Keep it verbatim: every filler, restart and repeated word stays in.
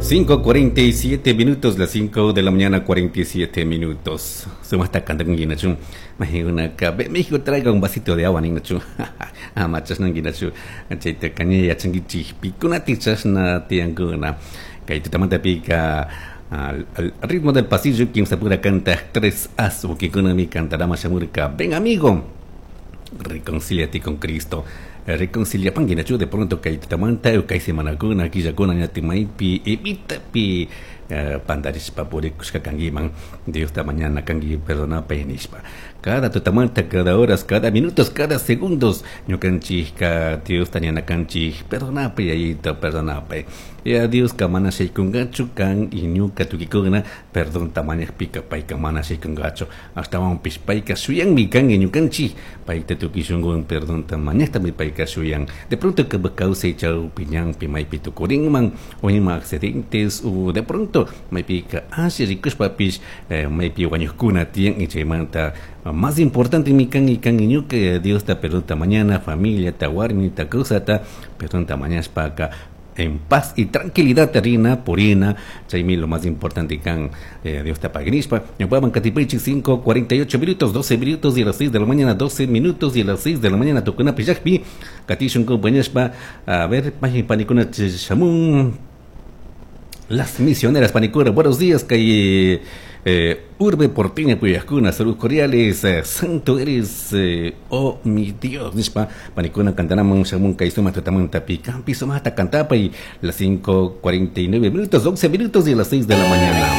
Cinco cuarenta y siete minutos, las cinco de la mañana, cuarenta y siete minutos. Sumata cantanguinachu. Mahiguna México traiga un vasito de agua ninachu. Ama chasnanguinachu. Chayta caña yachanguichik pikunati chasna tiyankuna. Kay tutamanta pika al, al ritmo del pasillo quien se pura canta tres as mi cantará mashamurka. Ven, amigo, reconcíliate con Cristo. Reconcilia panguinachu de pronto kay tutamanta kay semanakuna killakuna ñatimaipi evitapi pandarishpa purikushka kanguiman Dios ta mañana kangi perdonapa nishpa. Cada tutamanta, cada horas, cada minutos, cada segundos ñukanchikka Dios ta ñana kanchik perdonapa yayito, perdonapa ya Dios ka mana shaykungachu kan y ñuka tukikuna perdón tamañakpika payka mana shaykungachu ashtawanpish payka shuyanmi kan y ñukanchik payta tukuy shunkuwan perdón tamañaktami payka shuyan. De pronto kawsay chawpi ñanpi maypi tukurinman o ima accidentes o de pronto maypika alli rikushpapish eh, maypi wañukkuna tiyan y chaymanta más importante mi kan y kan y ñuka Dios ta perdón ta mañana familia ta warmi ta kawsata perdón ta mañashpaka en paz y tranquilidad terina purina chaymi lo más importante kan eh, Dios te pagnispa ñupaman katipaychik cinco cuarenta y ocho minutos, doce minutos y a las seis de la mañana, doce minutos y a las seis de la mañana tukuna pillakpi katishun compañashpa. A ver panikuna shamun las misioneras panikuna, buenos días kay eh, Urbe Porteña Puyascuna, saludos cordiales, eh, santo eres, eh, oh mi Dios, nishpa panikuna cantanaman shamun kay suma tutamanta pikampi sumata cantapa y las cinco cuarenta y nueve minutos, once minutos y a las seis de la mañana.